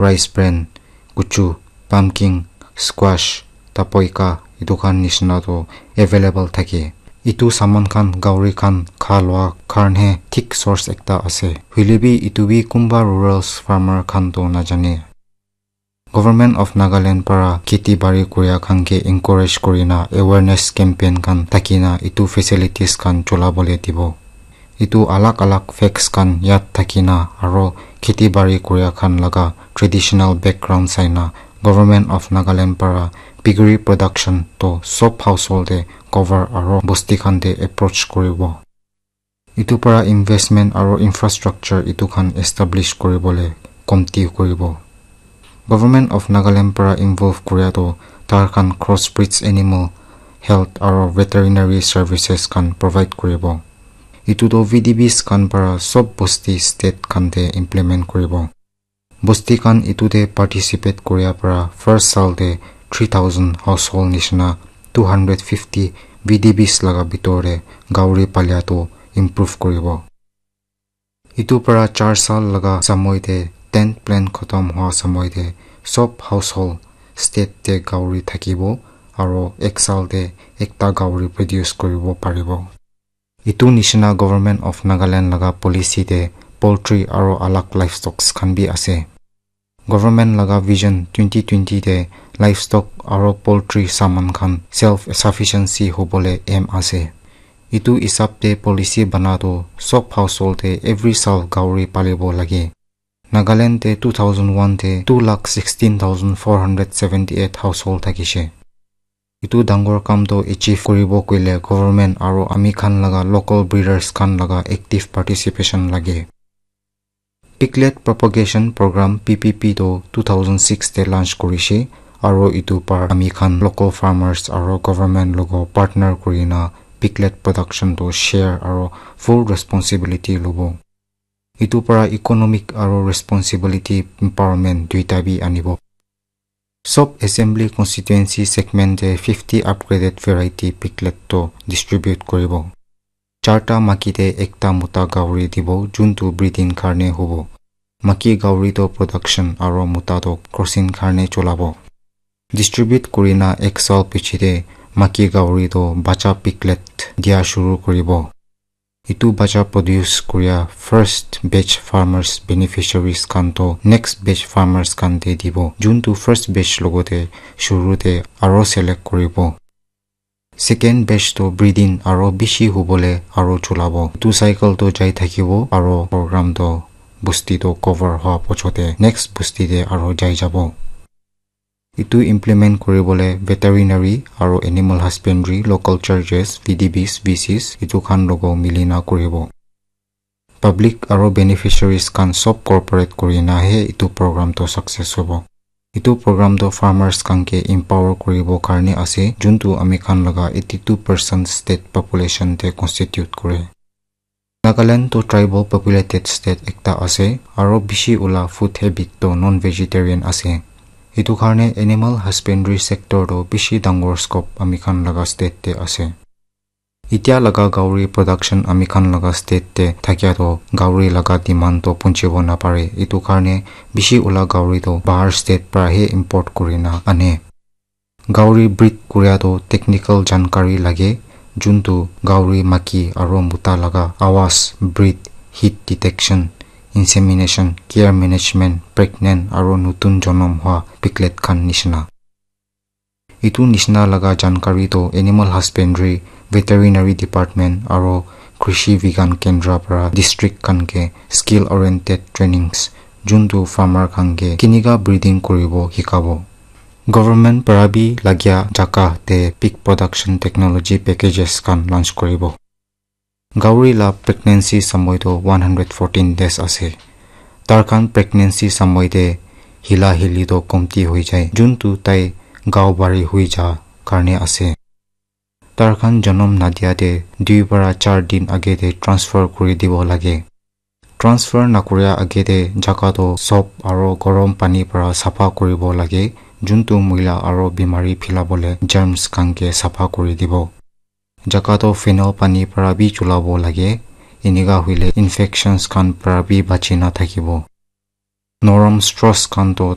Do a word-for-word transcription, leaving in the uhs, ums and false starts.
rice bran, kuchu, pumpkin, squash, tapoika, etu khan nishina toh available thake. Etu saman khan gauri khan kha lua karne thik source ekta ase. Hoile bi etu bi kunba rural farmer khan toh najane. Government of Nagaland para kheti bari kuria khan ke encourage kurina awareness campaign khan thakina etu facilities khan cholabole dibo. Etu alag alag facts khan yad thakina aro kheti bari kuria khan laga traditional background saina Government of Nagaland para piggery production toh sob household te cover aro bosti khan te approach kuribo. Etu para investment aro infrastructure etu khan establish kuribole komti kuribo. Government of Nagaland para involve kuria toh tar khan crossbreeds animal health aro veterinary services khan provide kuribo. Etu toh V D Bs khan para sob bosti state khan te implement kuribo. Bosti khan etu te participate kuria para first saal te three thousand household nishina two hundred fifty V D Bs laga bitor te gauri palia toh improve kuribo. Etu para char saal laga samoi te tenth plan khatam hua samoi te sob household state te gauri thakibo aro ek saal te ekta gauri produce kuribo paribo. Etu nishina Government of Nagaland laga policy te poultry aro alag livestocks khan bi ase. Government laga vision twenty twenty te livestock aro poultry saman khan self sufficiency hobole aim ase. Etu hisab te policy bana toh sob household te every saal gauri palibo lage. Nagaland te two thousand one te two lakh sixteen thousand four hundred seventy eight household thakishe. Etu dangor kam toh achieve kuribo koile government aro ami khan laga local breeders khan laga active participation lage. Piglet Propagation Program, P P P, toh two thousand six te launch kurishe, aro etu par ami khan local farmers aro government logo partner kurina piglet production toh share aro full responsibility lobo. Etu para economic aro responsibility empowerment duita bi anibo. Sob assembly constituency segment te fifty upgraded variety piglet toh distribute kuribo. Charta maki te ekta mota gauri dibo, juntu breeding karne hobo. Maki gauri toh production aro mota toh crossing karne cholabo. Distribute kurina ek saal piche te maki gauri toh bacha piglet dia shuru kuribo. Etu bacha produce kuria first batch farmers beneficiaries khan toh next batch farmers khan te dibo. Juntu first batch logo te shuru te aro select kuribo. Second batch toh breeding aro bishi hubole aro chulabo. Etu cycle toh jai thakibo aro program toh bosti toh cover hua pochote next bosti te aro jai jabo. Etu implement kuribole veterinary aro animal husbandry, local churches, V D Bs, V Cs etu khan logo milina kuribo. Public aro beneficiaries khan sob cooperate kurina he etu program toh success hobo. Etu program toh farmers khan ke empower kuribo karne ase, juntu ami khan laga eighty two percent state population te constitute kure. Nagaland toh tribal populated state ekta ase, aro bishi ula food habit toh non-vegetarian ase. Etu karne animal husbandry sector toh bishi dangor scope ami khan laga state te ase. Itya laga gauri production ami khan laga state te thakia toh gauri laga demand toh punchibo napare. Etu karne bishi ula gauri toh bahar state para he import kurina ane. Gauri breed kuria toh technical jankari lage, juntu gauri maki aro mota laga awaz, breed, heat detection, insemination, care management, pregnant aro nutun jonom hua piglet khan nishina. Etu nishina laga jankari toh animal husbandry, veterinary department aro krishi vigyan kendra para district khan ke skill oriented trainings juntu farmer khan ke kinika breeding kuribo hikabo. Government para bi lagia jaka te pig production technology packages khan launch kuribo. Gauri la pregnancy samoi toh one hundred fourteen days ase. Tar khan pregnancy samoi te hila hili toh komti hoi jai, juntu tai gao bari hui ja karne ase. Tar khan jonom nadia te dui para char din age te transfer kuri dibo lage. Transfer nakuria age te jaka toh soap aro gorom pani para sapha kuribo lage, juntu muila aro bimari philabole germs khan ke sapha kuri dibo. Jaka toh phenyl pani para bi chulabo lage, enika hoile infections khan para bi bachi na thakibo. Norom Strauss khan toh